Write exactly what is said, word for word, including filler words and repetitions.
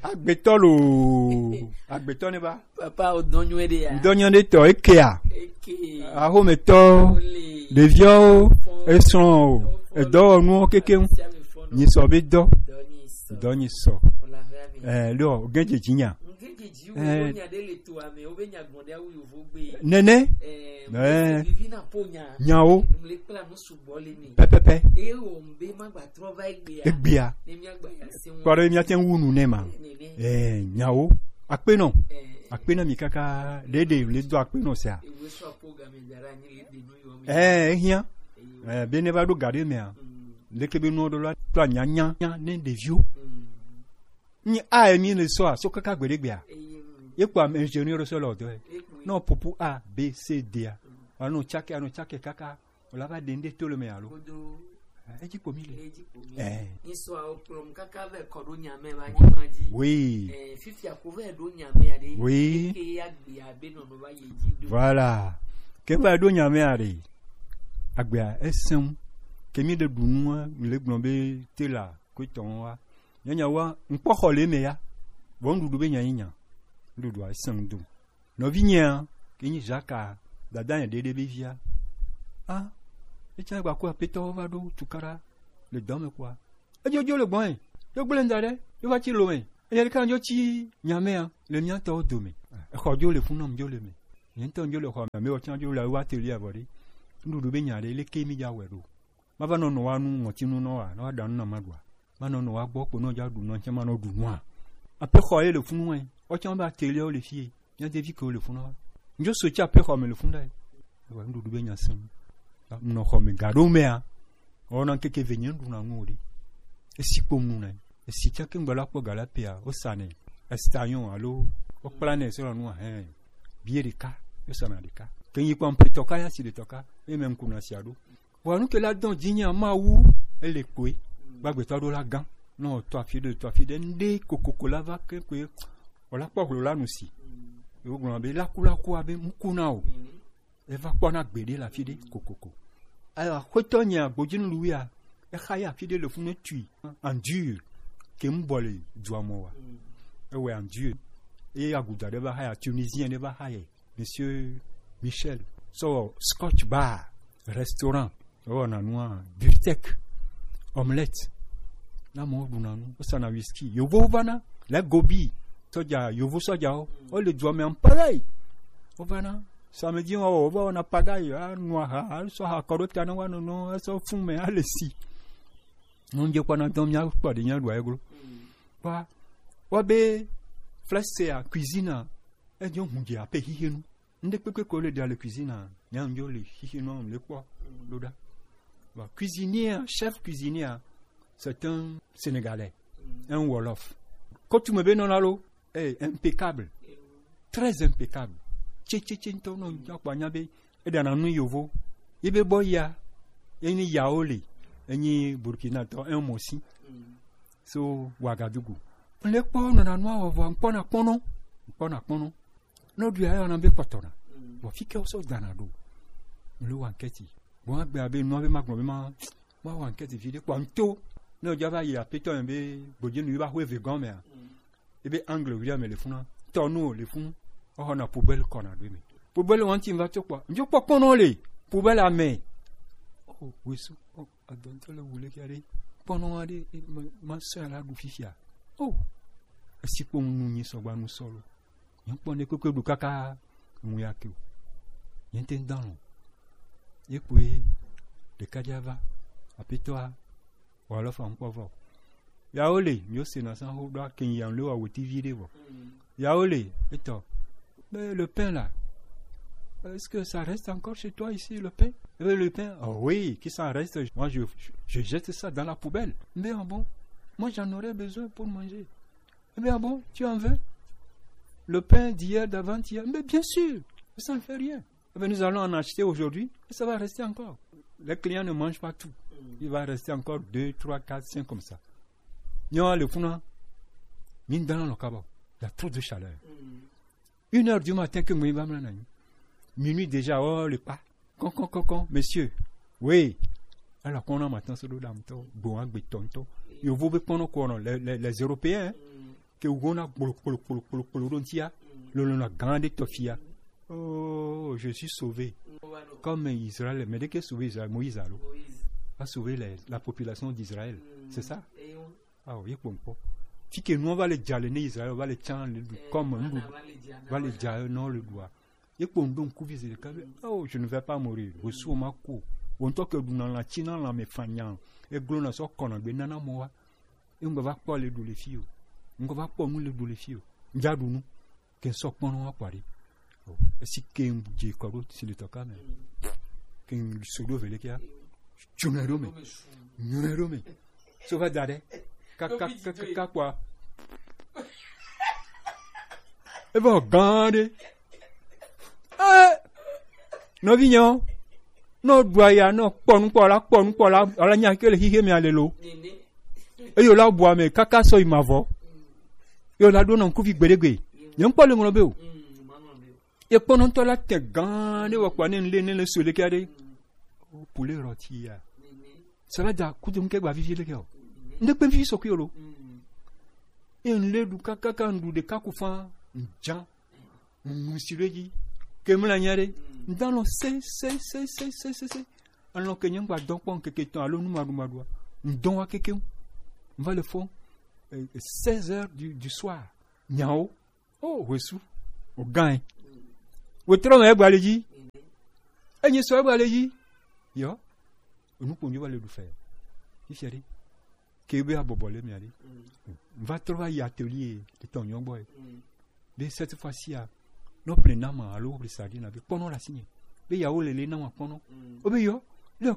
Agbetɔ lo. Agbetɔ ne ba. Papa, o dɔn nyuie ɖe ya? Dɔn nyuie ɖe tɔ, ekea. Eke. Axometɔ. Ole. Ɖeviwo. Fɔn. Esrɔ̃ o. Fɔn. Edɔwɔnuwo kekeŋ. Sia mi fɔn. Nyi sɔ be dɔ. Dɔ nyi sɔ. Dɔ nyi sɔ. O la fɛ mi. Eh, lo, o gɛn dze dzi nya. N gɛn dze dzi wo, eh, nya ɖe le to ame, wo be nya gbɔn ɖe awu yovo gbe. Nene. Eh, eh. Vivi na po nya. Nyawo. Mle kpla nu sugbɔ le mi. Pɛpɛpɛ. Eye wo mbe ma gba trɔ va egbea. Egbea. Ne mia gba ya se wo. Kpɔ ɖe mia te ŋu nu ne ma. Nene. Eh, nyawo. Akpenɔ. Eh. Akpenɔ mi kaka ɖeɖe le do akpenɔ sia. Ewe sɔ po game dara ni le de nu yo mi. Eh, ehia. Eyo. Eh, be ne va ɖo ga ɖe mea. Mm. Leke be nu ɖo la to anya nya nya ne ɖeviwo. Mm. Nyi a emi le sɔ a, so kaka gbeɖe gbea. Eyo. Ye kpɔ ame ingénieur sɔ le ɔdɔ ye. Eyo. Non, popo A, B, C, D a. Mm. Anu tsake, anu tsake kaka. O la va ɖe ŋɖe to le me alo. Kodo. Eh, edzi kpo mi le. Edzi kpo mi. Eh. Nyisɔa wo kplɔm kaka vɛ kɔ ɖo nya me va nyigba dzi. Oui. Eh, fifia ko vɛ ɖo nya me aɖe. Oui. Ke ya gbe abe nɔnɔ va yi dzi do. Voilà. Ke va ɖo nya me aɖe. Agbea esem. Ke mi ɖe ɖu nua, mi le gblɔ be te la, ko tɔn wa. Nyanya wa, ŋkpɔ xɔ le me ya. Vɔ nuɖuɖu be nya yi nya. Nuɖuɖua esem do. Nɔvinyea, ke nyi Jacques a, dada nye ɖeɖe be via. A, etsã gba ku apetɔwo va ɖo tukaɖa le dɔ me kua. Edzo dzo le gbɔn ye. Yo gblẽ da ɖe, yo va tsi lo me. Enya ɖeka dzo tsi nya mea, le mía tɔwo dome. Exɔ dzo le funu, dzo le me. Nye ŋutɔ dzo le xɔ me, ame wɔ tsã dzo le wa atelier avɔ ɖe. Nuɖuɖu be nya ɖe, leke mi dza wɔe ɖo? Ma va nɔ nɔ wa nu ŋɔtinu nɔ wa, nɔ wa ɖa nu na ma ɖua. Ma nɔ nɔ wa gbɔ kpo nɔ dza ɖu nɔ tsɛ ma nɔ ɖu nua. Aƒe xɔ ye le funu wɛ. Wotsã be atelier wo le fie. Mía devi ke wo le funu wa. Ndzo so tsi aƒe xɔ me le funu ɖa. Ewa nuɖuɖu be nya sẽŋ. Nɔ xɔ me ga ɖo mea. Wɔna ŋkeke ve nye ɖu na nu o ɖe. Esi kpom nu na. Esi tsã ke ŋgbɔ la kpɔ ga la pea, wo sa nɛ. Estayon alo wo kpla nɛ sɔ nua hɛn. Bie ɖeka, yo sa na ɖeka. Ke nyi kpɔ mpetɔ ka ya si ɖetɔ ka. Eme ŋku na sia ɖo. Vɔa nu ke la dɔn dzinye Mawu ele koe. Gbagbetɔ ɖo la gã. Nɔ tɔ afi ɖe, tɔ afi ɖe, ŋɖe kokoko la va ke koe. Wòla kpɔ hlo la nu si. Yewo gblɔ be laku laku abe ŋku na o. Eva kpɔna gbeɖe le afi ɖe kokoko. Aya xɔtɔ nya gbodzi nu luwia. Exa ya afi ɖe le funu tui. Andur. Ke ŋbɔ le dua mɔ wa. Ewɛ andur. Eye aguda ɖe va xa ya, Tunisien ɖe va xa ye. Monsieur Michel, so Scotch Bar, restaurant, ewɔna nua, biftek, omelette, na mo ɖuna nu, wosana whisky. Yovowo vana, le gobi, sɔdza, yovo sɔdzawo, wole dua me en pagaille. Wovana, samedi wa, wova wɔna pagaille, anu aha, sɔ aha kɔ ɖo ta na wa nono, esɔ fun me, ale si. Nunje kpɔna dɔn mía kpɔ ɖe mía ɖu ayeglo. Kpɔ, wa be flèche a cuisine a, edzo hun dze ape xixenu. Ŋɖe kpekpe ko le ɖa le cuisine a, nya ŋdzo le xixenu le kpɔ ɖo ɖa. Bon, cuisinier, chef cuisinier, c'est un Sénégalais, un Wolof. Kotu me be nɔna lo, eh, impeccable. Très impeccable. Tse, tse, tse, ŋutɔ nɔ ŋutɔ kpɔ anya be eɖana nu yovo. Ye be bɔ ya, ye nyi yawo le, enyi Burkina tɔ, un mosi. So, Ouagadougou. Le kpɔ nɔna nua wɔ vɔ, ŋkpɔna kpɔnɔ, ŋkpɔna kpɔnɔ. Nɔ ɖu ya yɔna be kpɔtɔna. Vɔ fi ke wosɔ dana ɖo. Le wa ŋkɛti. Bon, agbe abe nua be ma gblɔ be ma, ma wa ŋkɛti fi ɖe kpɔ ŋto. Ne wodza va yi apetɔ me be gbodze nu yi va xo eve gɔn mea. Ebe angle wuli ame le funa. Tɔnu le fun. Oxɔ na poubelle kɔna ɖo me. Poubelle wɔn ti va tso kpɔ. Ndzo kpɔ kpɔnɔ le. Poubelle ame. Oh, wesu. Oh, adɔntɔ le wule kia ɖe. Kpɔnɔ wa ɖe, eh, ma, ma sɔ ya la ɖu fifia. Oh. Esi kpɔ nu nyi sɔgba nu sɔlo. Nye kpɔ ne kpekpe ɖu kaka ŋu ya ke o. Nye te ŋu dɔn o. Ye kpoe ɖeka dza va. Apetɔa, wɔ alɔ fa ŋkpɔ vɔ. Yawo le, mi wo se na san ho ɖo ake nya le wa wo T V ɖe vɔ. Yawo le, etɔ. Mais le pain là, est-ce que ça reste encore chez toi ici, le pain? Eh bien, le pain, oh oui, qui s'en reste, moi je, je, je jette ça dans la poubelle. Mais ah bon, moi j'en aurais besoin pour manger. Eh bien, ah bon, tu en veux? Le pain d'hier, d'avant-hier, mais bien sûr, ça ne fait rien. Eh bien, nous allons en acheter aujourd'hui et ça va rester encore. Les clients ne mangent pas tout. Il va rester encore deux, trois, quatre, cinq comme ça. Nyo le funa, min dans le kaba. Il y a trop de chaleur. Une heure du matin que moi va me. Minuit déjà, oh, le pas. Con, con, con, con, monsieur. Oui. Alors qu'on a maintenant ce dame to, bon, un béton to. Yo, vous pouvez prendre quoi, non? Les, les, les Européens, hein? ke wona kpolo kpolo kpolo kpolo kpolo ɖo ŋutia, lolona gã ɖe tɔ fia. Oh, je suis sauvé. Comme Israël, mais de que sauver Israël, Moïse alors a sauvé la, la population d'Israël. C'est ça? Ah, ye kpɔn kpɔ. Fi ke nua va le dza le ne Israël va le tsan le du comme ndu va le dza non le dua. Ye kpɔn do ŋkuvi zi ɖeka be, oh, je ne vais pas mourir. Resu ma ko. Wo ŋutɔ ke ɖuna lã tsina lãme fanya. Eglo na sɔ kɔna gbe nana mɔ wa. Ye ŋgɔ va kpɔ le ɖu le fi o. Ŋgɔ va kpɔ nu le ɖu le fi o. Ŋdza ɖu nu. Ke ŋsɔ kpɔn wa kpɔ ɖi. Esi ke ŋdze kɔ ɖo si le tɔ ka me. Ke ŋso ɖo vele kia. Tsunɛ ɖo me. Nyunɛ ɖo me. So va da ɖe. Kaka kaka kpɔa. Evɔ gã ɖe. Eh, nɔvi nyɔ. Nɔ ɖua ya nɔ kpɔ nukpɔ la kpɔ nukpɔ la ala nya ke le xixe mea le lo. Eyo la bua me kaka sɔ yi ma vɔ. Yo la ɖo nɔ ŋkuvi gbeɖegbe. Nye ŋkpɔ le ŋlɔ be o. Ekpɔnɔtɔ la te gã ɖe wɔ kpɔ ne le ne le so le kia ɖe. Pule rɔti ya. Sala da kutu ŋke gba vivi le kia o. Ŋde kpe vivi sɔ kui o lo. E ŋle ɖu kakaka ŋɖu ɖeka ku fa ŋdza. Ŋu si ɖo edzi. Ke mla nya ɖe. Ŋdalɔ se se se se se se se. Alɔ ke nye ŋgba dɔn kpɔ ŋkeke tɔn alo nu maɖu maɖua. Ŋdɔn wa keke ŋu. Ŋva le fɔ. Eh, seize heures du, du soir. Nyawo. Oh, wesu. O gã. Wetrɔ me egba le dzi. Enyi sɔ egba le dzi. Yɔ. Enu kpo nyo va le ɖu fɛ. Fifia ɖe. Ke be abɔbɔ le mia ɖe. Va trɔ va yi atelier etɔn nyɔ gbɔ. Be cette fois-ci a. No ple nama alo ple sardine be kpɔnɔ la sinye. Be yawo le le nama kpɔnɔ. O be yɔ.